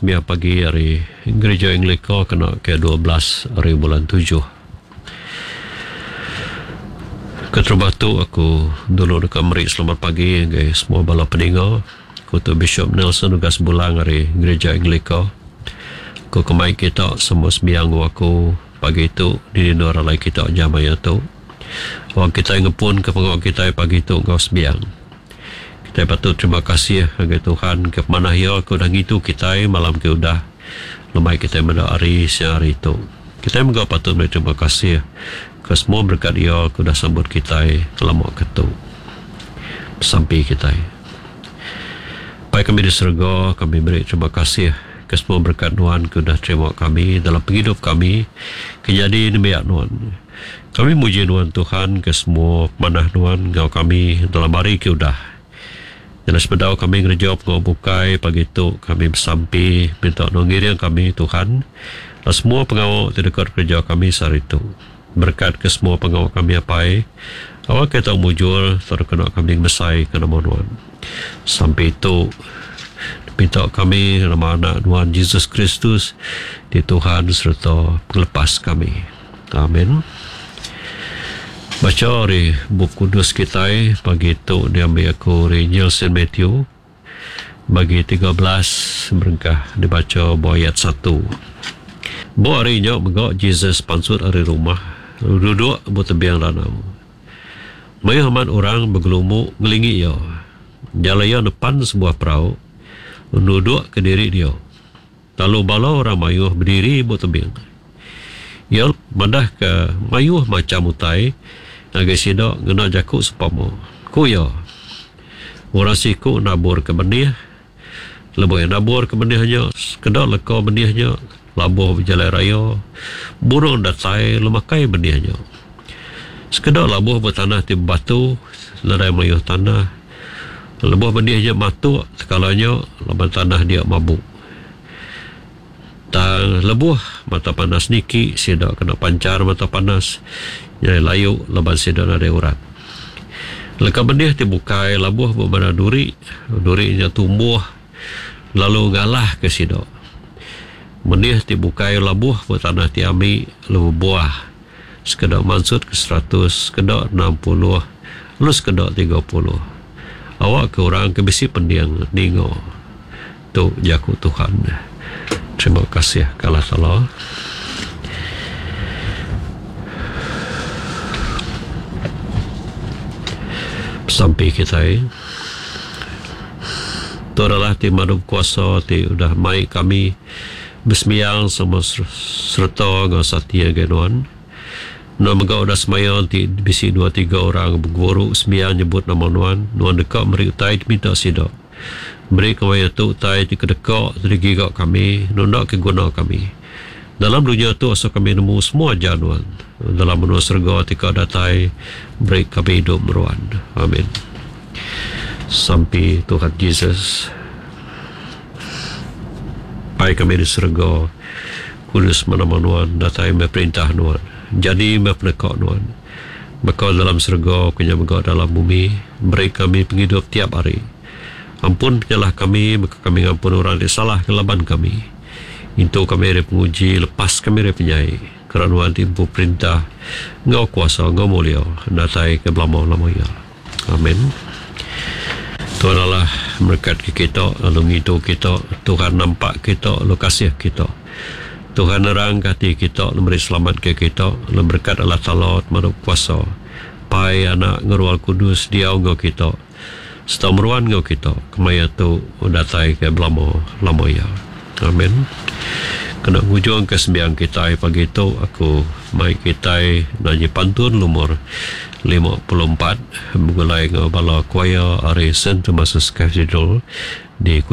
sembiang pagi ari Gerija Anglika kena ke 12 ari bulan tujuh. Keterubah tu aku dulu deka meri selamat pagi ngagai semua bala peninga. Aku tu Bishop Nelson Ugas Bulang ari Gerija Anglika. Aku ke mai kita semua sembiang enggau aku pagi tu di endur alai kita jam maya tu. Wang kitai ngepun ke pengawa kitai pagi tu enggau sembiang. Kitai patut terima kasih ngagai Tuhan ke pemanah Iya ke udah ngintu kitai malam ke udah lemai kitai meda hari siang hari tu. Kitai mega patut meri terima kasih ke semua berekat Iya ke udah sambut kitai lama ke tu. Besampi kitai. Pai kami di serega, kami meri terima kasih ke semua berekat Nuan ke udah terima kami dalam pengidup kami ke nyadi nembiak Nuan. Kami muji Nuan Tuhan ke semua pemanah Nuan enggau kami dalam hari ke udah. Nyadi sebedau kami ngereja pengawa bukai pagi tu kami besampi minta Nuan ngiring kami Tuhan dalam semua pengawa ti deka dikereja kami sehari tu. Berekat ke semua pengawa kami Apai awakka tau mujur tau dikena kami ngemesai ke nama Nuan. Sampi tu dipinta kami nama Anak Nuan Jesus Kristus ti Tuhan sereta Pengelepas kami. Amen. Bacha ari Bup Kudus kitai pagi tu diambi aku ari Injil Saint Matthew bagi 13 berengkah dibacha ba ayat satu. Ba hari nya mega Jesus pansut ari rumah lalu duduk ba tebing danau. Mayuh amat orang begelumu ngelingi iya. Jalai iya nepan sebuah perau lalu nudukka diri dia. Lalu bala orang mayuh bediri ba tebing. Iya madahka mayuh macham utai ngagai sida ngena jaku sempama. Ku iya, Orang siku naburka benih. Lebuh iya naburka benih nya, sekeda leka benih nya labuh ba jalai raya. Burung datai lalu makai benih nya. Sekeda labuh ba tanah ti bebatu, nadai mayuh tanah. Lebuh benih nya matuk tekala nya laban tanah dia mabuk. Tang lebuh mata panas niki sida kena panchar mata panas nyadi layu laban sida nadai urat. Leka benih ti bukai labuh ba bala duri, duri nya tumbuh lalu ngalahka sida. Benih ti bukai labuh ba tanah ti ami lalu bebuah. Sekeda mansut ke seratus, sekeda 60, lalu sekeda 30. Awakka orang ke bisi pending ninga. Tu jaku Tuhan. Terima kasih ke Allah Taala. Besampi kitai. Tu adalah ti madu kuasa ti udah mai kami Besembiang sama sereta enggau sati ngagai nuan. Nuan mega udah semaya enti bisi dua tiga orang beguru sembiang nyebut nama nuan, nuan deka meri utai ti minta sida. Beri kemaya tu utai ti kedeka ti digiga kami nunda ke guna kami. Dalam dunya tu asuh kami nemu semua ajar nuan. Dalam menua serega ti ka datai beri kami idup meruan. Amin. Sampi Tuhan Jesus. Pai kami di serega, kudus meh nama Nuan, datai meh perintah Nuan, jadi meh peneka Nuan. Baka dalam serega, ku nya mega dalam bumi, beri kami pengidup tiap hari. Ampun penyalah kami, baka kami ngampun orang ti salah ngelaban kami. Intu kami ari penguji, lepas kami ari penyai, kera Nuan ti empu perintah, enggau kuasa enggau mulia, datai ke belama-lama iya. Amen. Tuhan Allah merekat ke kita lalu ngintu kita. Tuhan nampak kita lalu kasih kita. Tuhan nerang ke ati kita lalu meri selamat ke kita lalu berekat Allah Taala Pemadu Kuasa, Pai, Anak enggau Roh Kudus diau enggau kita serta meruan enggau kita kemaya tu datai ke belama lama iya. Amen. Kena ngujung ke sembiang kitai pagi tu aku mai kitai nanyi pantun lumur 54 begulai enggau bala choir ari Saint Thomas's Cathedral di Kuching.